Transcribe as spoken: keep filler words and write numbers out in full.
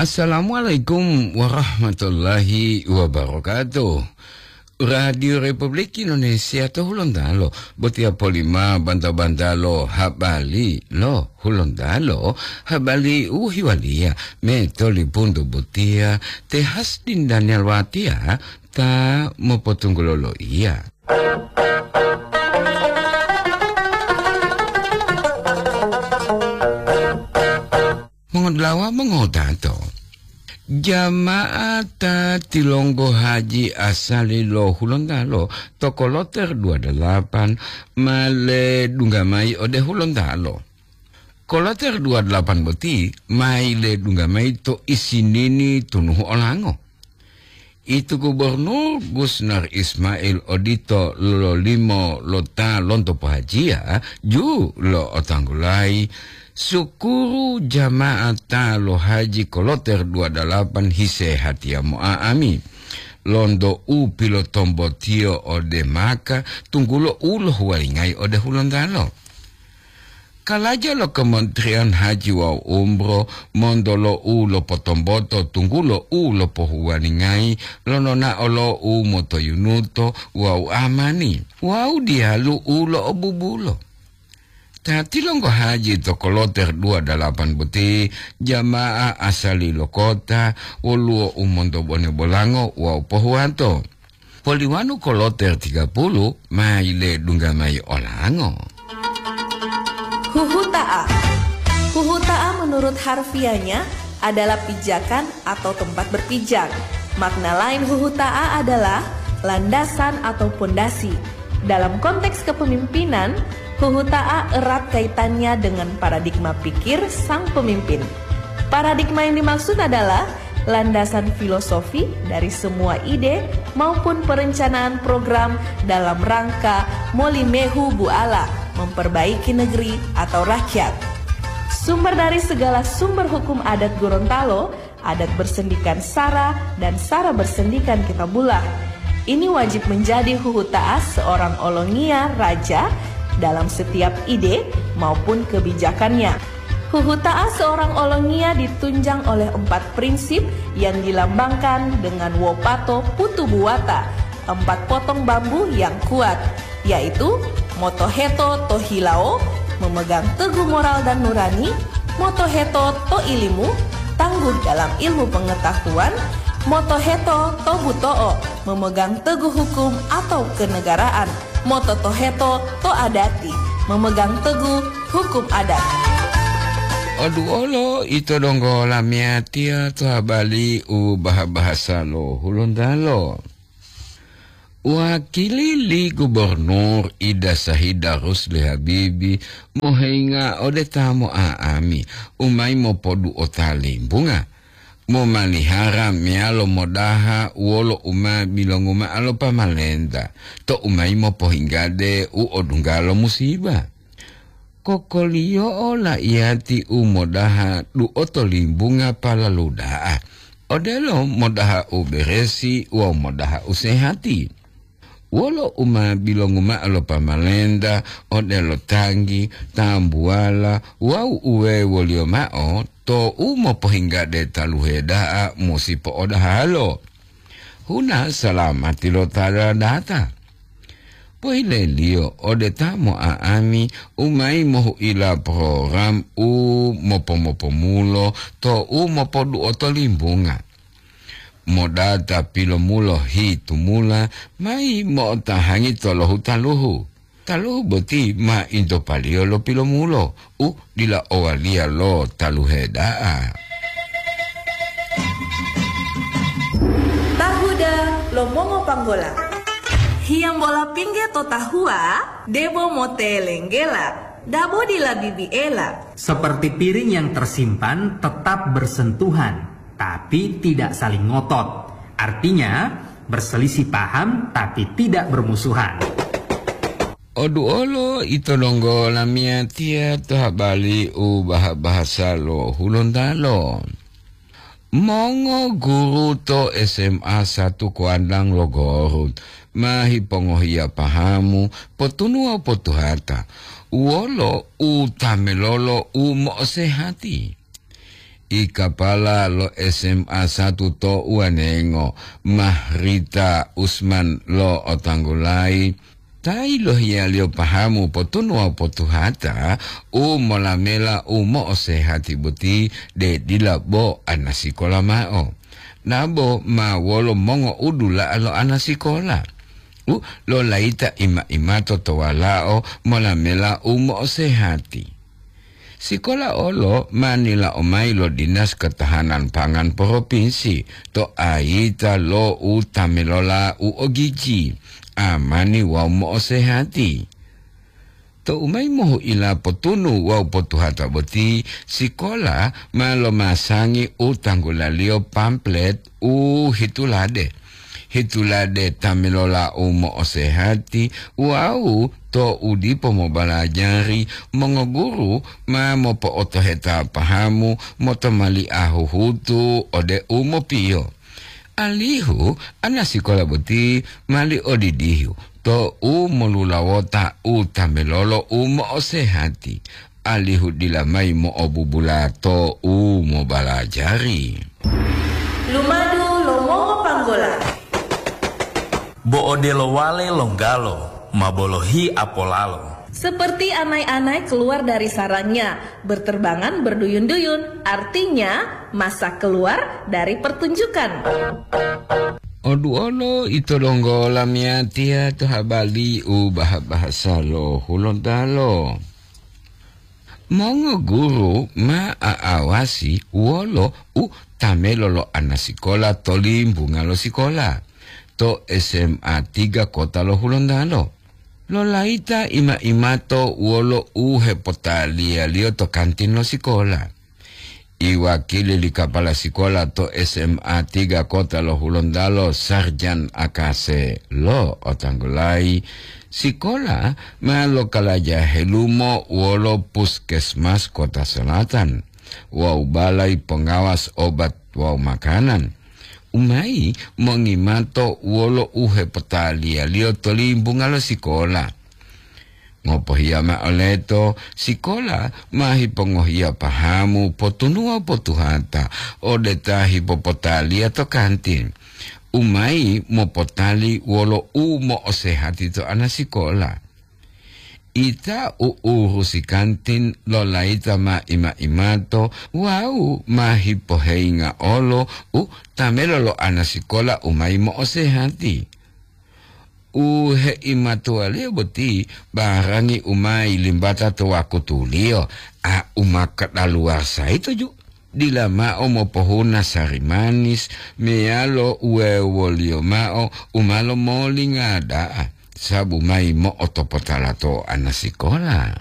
Assalamualaikum warahmatullahi wabarakatuh. Radio Republik Indonesia to Hulontalo, botiya polima banta-banta lo habari lo Hulontalo, habari u hiwaliya me tolipuntu botiya te Hasdin Daniel Watia ta mopotunggulo loiya. Mongodulawa mongodato, jama'ata tilonggo haji asali lo Hulontalo to koloter dua dalapan ma ledungga mayi ode Hulontalo. Koloter dua dalapan boti ma yiledungga mayi to isinini tunuhu olango. Itu Gubernur Gusnar Ismail odito lololimo lo ta lonto pohajiya ju lo otanggulayi, sukuru jama'ata lo haji koloter dua dalapan hisehatiya mo'a'ami lonto u pilotombotiyo ode Maka, tunggulo u lohuwalingayi ode Hulontalo. Kalaja lo Kementerian Haji wawu Umroh monto lo u lopotomboto tunggulo u lopohuwalingayi lo nonao lo u motoyunuto wawu amani wawu diyalu u lo'obubulo. Ta tilonggo haji to koloter dua dalapan boti, jamaah asali lo kota, woluwo u monto bone bolango wawu pohuwato. Poliwanu koloter tiga puluh ma yiledungga mayi olango. Huhuta'a. Huhuta'a menurut harfiahnya adalah pijakan atau tempat berpijak. Makna lain huhuta'a adalah landasan atau pondasi. Dalam konteks kepemimpinan, huhuta'a erat kaitannya dengan paradigma pikir sang pemimpin. Paradigma yang dimaksud adalah landasan filosofi dari semua ide maupun perencanaan program dalam rangka molimehu buala memperbaiki negeri atau rakyat. Sumber dari segala sumber hukum adat Gorontalo, adat bersendikan sara dan sara bersendikan kitabullah. Ini wajib menjadi huhuta'a seorang olongiya raja dalam setiap ide maupun kebijakannya. Huhuta'a seorang olongiya ditunjang oleh empat prinsip yang dilambangkan dengan wopato putu buwata, empat potong bambu yang kuat, yaitu motoheto to hilawo, memegang teguh moral dan nurani, motoheto to ilimu, tangguh dalam ilmu pengetahuan, motoheto to buto'o, memegang teguh hukum atau kenegaraan, mototoheto to adati, memegang teguh hukum adat. Oduolo ito donggo lamiyatiya to habari u baha-bahasa lo Hulontalo. Wakili li Gubernur Ida Sahida Rusli Habibi mohinga ode ta mo'a'ami u mayi mopodu'ota limbunga, momalihara meyalo modaha wolo u ma bilongu ma'o lo pamalenta to u mayi mopohinggade u odungga lo musiba. Kokoliyo'o la'iyati u modaha du'oto limbunga palalu da'a, odelo modaha u beresi wawu modaha u sehati. Wolo u ma bilongu ma'o lo pamalenta, odelo tanggi, tambuwala wawu uwewoliyo ma'o, to u mopohinggade taluhe da'a musi po'odahalo. Huna salamati lo ta data. Pohileliyo ode ta mo'a'ami u mayi mohu'ila program u mopomopomulo to u mopodu'oto limbunga. Modata pilomulo hitumula mayi mo'otahangi tolohu taluhu. Taluhu boti ma intopaliyo lo pilomulo u dila owaliya lo taluhe da'a. Tahuda lo mongopanggola. Hiyambola pingge to tahuwa, debo motelenggela, dabo dila bibiela. Seperti piring yang tersimpan tetap bersentuhan, tapi tidak saling ngotot. Artinya, berselisih paham tapi tidak bermusuhan. Oduolo ito donggo lamiyatiya to habari u baha-bahasa lo Hulontalo. Mongo guru to S M A satu Kuandang lo Gorut ma hipongohiya pahamu potunuwa potuhata wolo u tamelolo u mo'osehati. I kapala lo S M A satu to Uwanengo, Mahrita Usman lo Otanggulai, ta yilohiyaliyo pahamu potunu wawu potuhata u molamela u mo'osehati boti, de dila bo anasikola ma'o. Nabo ma wolo mongo'udula'a lo anasikola u lolayita ima-imato to walao molamela u mo'osehati. Sikola olo ma nila'o mayi lo Dinas Ketahanan Pangan Propinsi to ayita lo u tamelola u ogiji, amani wawu mo'osehati. Tou mayi mohu'ila potunu wawu potuhata boti, sikola ma lomasangi u tanggulaliyo pamplet u hitulade. Hitulade ta melola u mo'osehati wawu to u dipo mobalajari, mongoguru ma mopo'otoheta pahamu motomali'a huhutu ode u mopiyo. Alihu anasikola boti mali odidihu to u molulawota u ta melolo u mo'osehati, alihu dila mayi mo'obubula to u mobalajari. Lumadu lo mongopanggola. Bo odelo wale longgalo ma bolohi apolalo. Seperti anai-anai keluar dari sarangnya, berterbangan berduyun-duyun, artinya masa keluar dari pertunjukan. Oduolo ito donggo lamiyatiya to habali u baha-bahasa lo Hulontalo. Mongoguru ma a'awasi wolo u tamelo lo anasikola to limbunga lo sikola to S M A tiga Kota lo Hulontalo. Lolayita ima-imato wolo u hepotaliyaliyo to kantin lo sikola. Iwakili li kapala sikola to S M A tiga Kota lo Hulontalo, Sarjan Akase lo otanggulayi, sikola ma lokalaja helumo wolo Puskesmas Kota Selatan wawu balai pongawas obat wawu makanan, u mayi mongimato wolo u hepotaliyaliyo to limbunga lo sikola. Ngopohiya ma'o leto, sikola ma hipongohiya pahamu potunuwa potuhata ode ta hipopotaliya to kantin, u mayi mopotali wolo u mo'osehati to anasikola. Ita u urusi kantin lolayita ma ima-imato wawu ma hipoheyinga olo u tamelo lo anasikola u mayi mo'osehati. U heimatuwaliyo boti barangi u ma yilimbata to wakutuliyo, a u ma kadaluwasa yito ju, dila mao mopohuna sari manis meyalo uwewoliyo mao u ma lomolingada'a, sabu mayi mo'otopotala to anasikola.